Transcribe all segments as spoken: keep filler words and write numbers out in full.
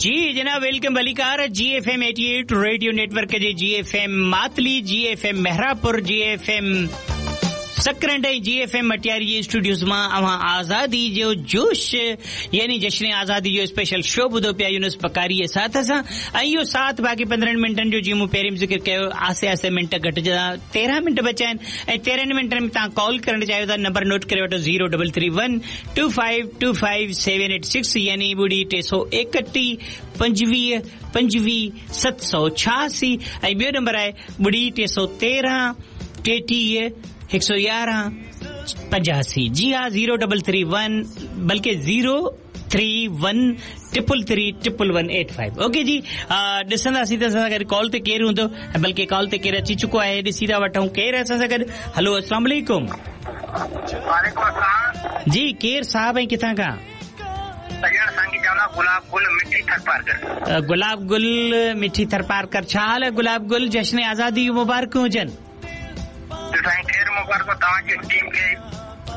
जी जनाब, welcome भलीकार G F M eighty eight radio network जे G F M Matli, G F M Mehrapur, G F M Sakrand ऐं जी F M Matiari जे Studios मां अव्हां आज़ादी जो जोश यानी जश्न आज़ादी जो स्पेशल शो ॿुधो पिया यूनुस बकारी जे साथ सां। ऐं इहो साथ बाक़ी पंद्रहं मिंटनि जो जीअं मूं पहिरीं ज़िक्र कयो, आहिस्ते आहिस्ते मिंट घटिजंदा, तेरहं मिंट बचा आहिनि ऐं तेरहं मिंटनि में तव्हां कॉल करणु चाहियो था। नंबर नोट करे वठो zero double three one two five two five seven eight six यानी ॿुड़ी टे सौ एकटीह पंजवीह पंजवीह सत सौ छियासी ऐं ॿियो नंबर आहे ॿुड़ी टे सौ तेरहं टेटीह हिकु सौ यारहं पंजासी। जी हा, ज़ीरो डबल थ्री वन बल्कि zero three one triple three triple one eight five. Okay जी, ॾिसंदासीं त असां सां गॾु कॉल ते केरु हूंदो, बल्कि कॉल ते केरु अची चुको आहे, ॾिसी था वठूं केरु असां सां गॾु। हलो, अस्सलाम वालेकुम। वालेकुम अस्सलाम। जी, केरु साहब ऐं किथां खां? गुलाब गुल मिठी थरपारकर। गुलाब गुल मिठी थरपारकर। छा हाल आहे गुलाब गुल? जश्न आज़ादी मुबारकूं हुजनि।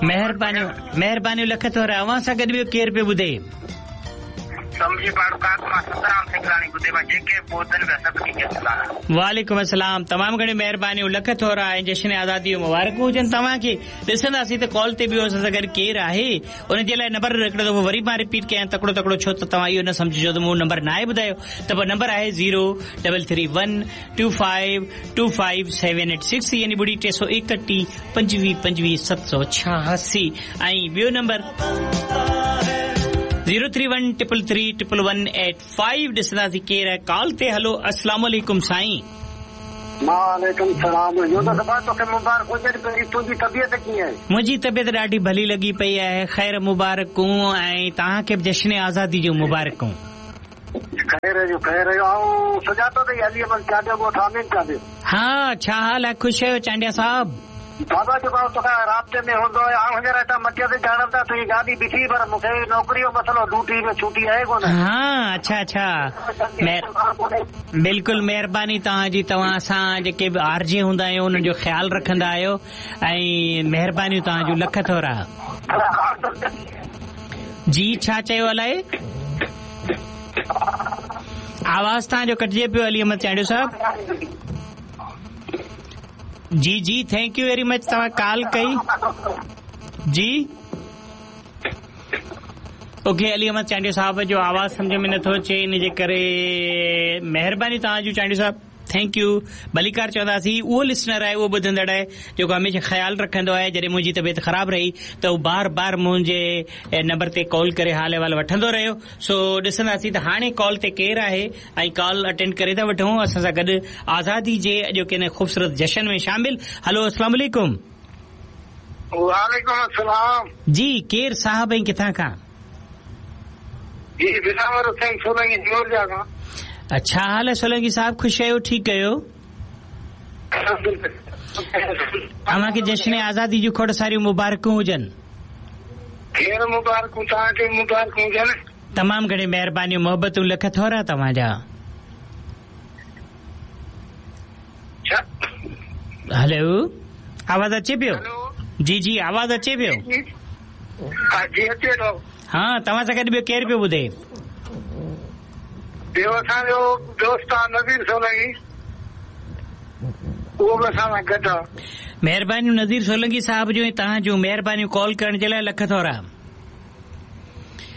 महिरबानियूं महिरबानियूं, लख थोरा। अव्हां सां गॾु ॿियो केरु पियो ॿुधे? वालेकुम अस्सलाम। तमामु घणियूं महिरबानियूं, लख थोरा ऐं जश्न आज़ादी मुबारकूं हुजनि तव्हांखे। ॾिसंदासीं त कॉल ते ॿियो असां सां गॾु केरु आहे, उन जे लाइ नंबर हिकिड़ो दफ़ो वरी मां रिपीट कयां तकिड़ो तकिड़ो, छो त तव्हां इहो न सम्झिजो त मूं नंबर न आहे ॿुधायो। त पोइ नंबर आहे zero double three one two five two five seven eight six यानी ॿुड़ी टे सौ एकटीह पंजवीह पंजवीह सत सौ छियासी ऐं ॿियो number zero three one triple three triple one eight five. ॾिसंदासीं केरु आहे कॉल ते। हलो, अस्सलाम वालेकुम साईं। वालेकुम सलाम। तोखे मुबारक हुजे। तुंहिंजी तबियत कीअं आहे? मुंहिंजी तबियत ॾाढी भली लॻी पई आहे, ख़ैर मुबारकूं ऐं तव्हांखे बि जश्न आज़ादी जूं मुबारकूं। ख़ैर जो ख़ैर जो। ऐं सुञातो अथई अली अहमद चांडियो ॻोठ आमिन चांडियो। हा, छा हाल आहे? ख़ुशि आहियो चांडिया साहब? बाबा जेको तोखां राब्ते में हूंदो आहे, आउं हींअर हितां मटिया ते ॼाणनि था तुंहिंजी गाॾी बीठी, पर मूंखे नौकरी जो मसइलो, ड्यूटी में छुटी आहे कोन। हा, अच्छा अच्छा, बिल्कुलु महिरबानी तव्हांजी। तव्हां असां जेके बि आरजे हूंदा आहियूं उन्हनि जो ख़्यालु रखंदा आहियो ऐं महिरबानियूं तव्हांजूं, लख थोरा। जी, छा चयो अलाए? आवाज़ तव्हांजो कटिजे पियो अली अहमद चांडियो साहब। जी जी, thank you very much, तव्हां कॉल कई। जी ओके, अली अहमद चांडियो साहब जो आवाज़ सम्झ में नथो अचे, इन जे करे महिरबानी तव्हांजो चांडियो साहब, thank you. भलीकार चवंदासीं। उहो लिसनर आहे, उहो ॿुधंदड़ आहे जेको हमेशह ख़्यालु रखंदो आहे। जॾहिं मुंहिंजी तबियत ख़राबु रही त उहो बार बार मुंहिंजे नंबर ते कॉल करे हाल अहिवाल वठंदो रहियो। सो ॾिसंदासीं त हाणे कॉल ते केरु आहे ऐं कॉल अटेंड करे था वठूं। असां सां गॾु आज़ादी जे अॼोके हिन ख़ूबसूरत जशन में शामिल। हलो, अस्सलाम वालेकुम। वालेकुम अस्सलाम। जी, केरु साहब ऐं किथां खां? जी, बिलावर हुसैन सोलंगी जोरजा खां। अच्छा हाल आहे सोलंगी साहब? ख़ुशि आहियो? ठीकु आहियो? अव्हांखे जश्न आज़ादी जूं खोड़ सारियूं मुबारकूं हुजनि। ख़ैर मुबारकूं, तव्हांखे मुबारकूं हुजनि। तमामु घणी महिरबानियूं, मोहबतूं, लख थोरा तव्हांजा। हलो, आवाज़ अचे पियो? जी जी, आवाज़ अचे पियो? जी अचे थो। हा, तव्हां सां गॾु ॿियो केरु पियो ॿुधे? ॿियो असांजो दोस्त आहे नज़ीर सोलंगी, उहो बि असां सां गॾु आहे। महिरबानियूं नज़ीर सोलंगी साहब जो ऐं तव्हांजूं महिरबानियूं कॉल करण जे लाइ, लख थोरा।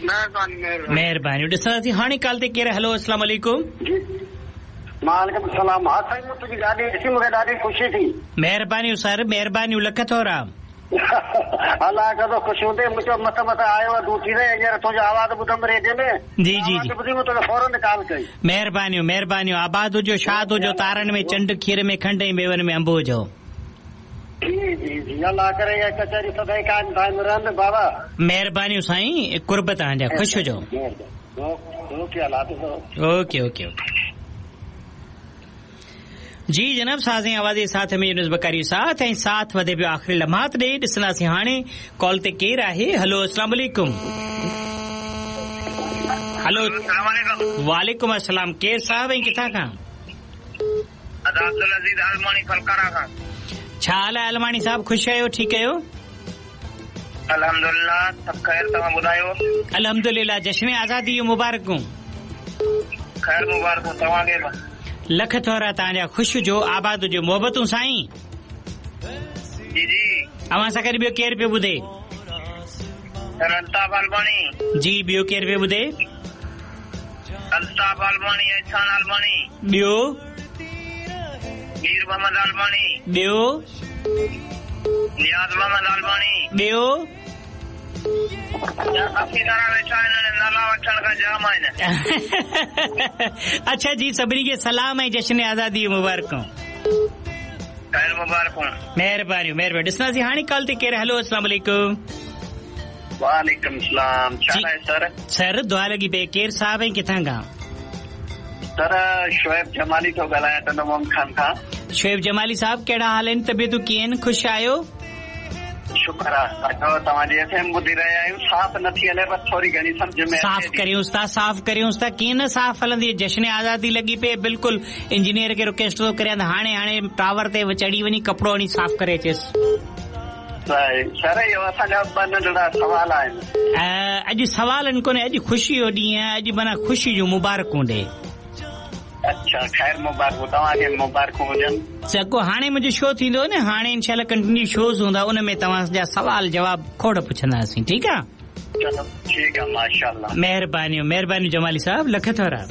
महिरबानी महिरबानियूं। ॾिसंदासीं हाणे कॉल ते केरु। हलो, अस्सलाम वालेकुम। वालेकुम सलाम। हा साईं, मूं तुंहिंजी ॾाढी ॾिसी, मूंखे ॾाढी ख़ुशी थी। महिरबानियूं सर, महिरबानियूं, लख थोरा। अलाह कंदो ख़ुशि हूंदे। मूं चयो मथां मथां आयो आहे ड्यूटी ते, हींअर तुंहिंजो आवाज़ ॿुधमि रेडियो में। जी जी जी, ॿुधी मूं तोखे फ़ौरन कॉल कई। महिरबानियूं महिरबानियूं। आबाद हुजो, शाद हुजो, तारनि में चंड, खीर में खंड ऐं मेवनि में अंब हुजो। जी जी जी, अलाह करे इहा कचहरी सदाई क़ाइम दाइम रहनि बाबा। महिरबानियूं साईं, कुर्ब तव्हांजा, ख़ुशि हुजो। ओके, अलाह ओके ओके ओके। जी जनाब, साज़ आवाज़ साथ में यूनुस बकारी साथ ऐं साथ वधे पियो आख़िरी लम्हात ॾे। ॾिसंदासीं हाणे कॉल ते केरु आहे। हलो, अस्सलाम वालेकुम। हलो, वालेकुम अस्सलाम। केरु साहब ऐं किथां खां? अब्दुल अज़ीज़ अलमाणी फलकारा खां। छा हाल आहे अलमाणी साहब? ख़ुशि आहियो? ठीकु आहियो? अल्हम्दुलिल्लाह, सभु ख़ैर। तव्हां ॿुधायो? अल्हम्दुलिल्लाह। जश्न आज़ादी जूं मुबारकूं। ख़ैर मुबारकूं तव्हांखे बि। लख थोरा तव्हांजा, ख़ुशि हुजो, आबाद हुजो। मोहबतूं साईं। जी जी। अव्हां सां गॾु ॿियो केरु पियो ॿुधे? सर अल्ताफ़ आलमानी। जी, ॿियो केरु पियो ॿुधे? अल्ताफ़ आलमानी, एहसान आलमानी। ॿियो? मीर मोहम्मद आलमानी। ॿियो? नियाज़ मोहम्मद आलमानी। ॿियो? काफ़ी सारा वेठा आहिनि, नाला वठण खां जाम आहिनि। अच्छा जी, सभिनी खे सलाम ऐं जश्न आज़ादी मुबारकूं। ख़ैर मुबारकूं। महिरबानी महिरबानी। ॾिसंदासीं हाणे कॉल ते केरु। हलो, अस्सलाम वालेकुम। वालेकुम सलाम। छा आहे सर? सर दुआ लॻी पई। केरु साहिब ऐं किथां खां? सर शोएब जमाली थो ॻाल्हायां, टंडो मोहम्मद खान खां। शोएब जमाली साहिब, कहिड़ा हाल आहिनि, तबियतूं कीअं आहिनि, ख़ुशि आहियो? शुक्र आहे, तव्हांजी एफ एम ॿुधी रहिया आहियूं। साफ़ नथी हले पर थोरी घणी सम्झ में साफ़ करियूंसि था, साफ़ करियूंसि था। कीअं न साफ़ हलंदी, जश्न आज़ादी लॻी पई। बिल्कुलु इंजीनियर खे रिक्वेस्ट थो करियां त हाणे हाणे टावर ते चढ़ी वञी कपिड़ो हणी साफ़ करे अचेसि। सर इहो असांजा ॿ नंढड़ा सवाल आहिनि। अॼु सवाल कोन्हे, अॼु ख़ुशी जो ॾींहुं आहे, अॼु माना ख़ुशी जूं मुबारकूं ॾे। अच्छा, ख़ैर मुबारकूं, तव्हांखे मुबारकूं हुजनि। चको हाणे मुंहिंजो शो थींदो न, हाणे इंशाअल्लाह कंटिन्यू शोज़ हूंदा, उन में तव्हांजा सवाल जवाब खोड़ पुछंदासीं, ठीकु आहे? चलो ठीकु आहे, माशाअल्लाह। महिरबानियूं महिरबानियूं जमाली साहिब, लख थोरा।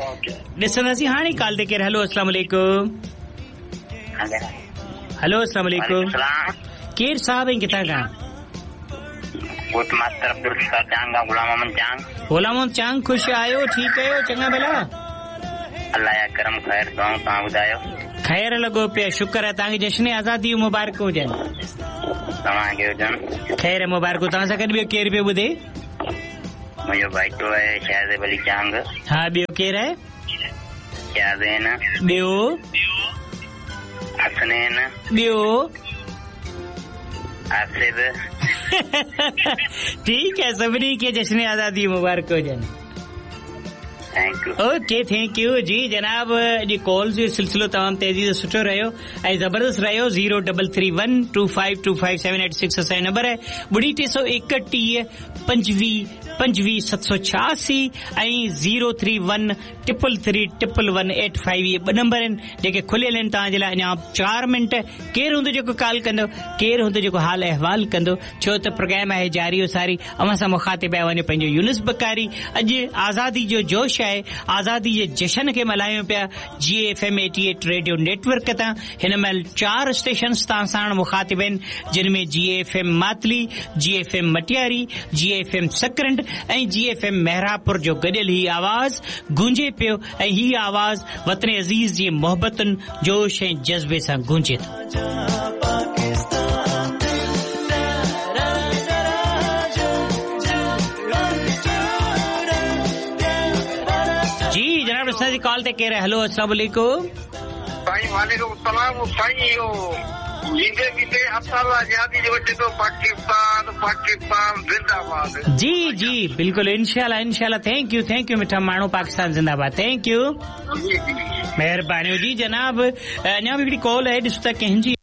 ओके, ॾिसंदासीं हाणे कॉल ते केरु। हलो, अस्सलाम वालेकुम। हलो, अस्सलाम वालेकुम। केरु साहिब ऐं किथां खां? गोठ मास्टर अब्दुल सत्तार चांग, गुलाम मोहम्मद चांग। गुलाम मोहम्मद चांग, ख़ुशि आहियो? ठीकु आहियो? चङा भला? अल्लाह जा करम, ख़ैर। तव्हां तव्हां ॿुधायो? ख़ैर लॻो पियो, शुक्र आहे। तव्हांखे जश्न आज़ादी मुबारक हुजनि। तव्हांखे हुजनि। ख़ैर मुबारक। तव्हां सां गॾु ॿियो केरु पियो ॿुधे? मुंहिंजो भाइटो आहे शाहज़ेब अली चांग। हा, ॿियो केरु आहे? शाहज़ैन। ॿियो? हसनैन। ॿियो? आसिफ़। ठीकु आहे, सभिनी खे जश्न आज़ादी मुबारक हुजनि। Thank you. Okay, thank you. जी जनाब, अॼु कॉल जो सिलसिलो तमामु तेज़ी सां सुठो रहियो ऐं ज़बरदस्त रहियो। Zero double three one two five two five seven eight six असांजो नंबर आहे। ॿुड़ी टे सौ एकटीह पंजवीह पंजवीह सत सौ छियासी ऐं zero three one triple three triple one eight five इहे ॿ नंबर आहिनि जेके खुलियल आहिनि तव्हांजे लाइ। अञा चारि मिंट केरु हूंदो जेको कॉल कंदो, केरु हूंदो जेको हाल अहिवाल कंदो, छो त प्रोग्राम आहे जारी सारी। अव्हां सां मुखातिब आहे वञो पंहिंजो यूनुस बकारी। अॼु आज़ादी जो जोश आहे, आज़ादी जे जशन खे मल्हायूं पिया G F M eighty eight radio network तां। हिन महिल चारि स्टेशन तव्हां साण मुखातिब आहिनि, जिन में G F M Matli, G F M Matiari, G F M Sakrand ऐं जी एफ एम मेहरापुर जो गॾियल ही आवाज़ गूंजे पियो ऐं ही आवाज़ वतन अज़ीज़ जी मोहबतुनि, जोश ऐं जज़्बे सां गूंजे थो। जी जनाब, जी कॉल ते केरु? हलो, अस्सलाम वालेकुम। साईं वालेकुम सलाम। साईं इहो ईंदे वींदे असां आज़ादी जो वठे थो पाकिस्तान, पाकिस्तान ज़िंदाबाद। जी जी बिल्कुल, इंशाअल्लाह इंशाअल्लाह। Thank you thank you मिठा माण्हू, पाकिस्तान ज़िंदाबाद। Thank you, महिरबानी। जी जनाब, अञा बि हिकिड़ी कॉल आहे, ॾिसो त कंहिंजी।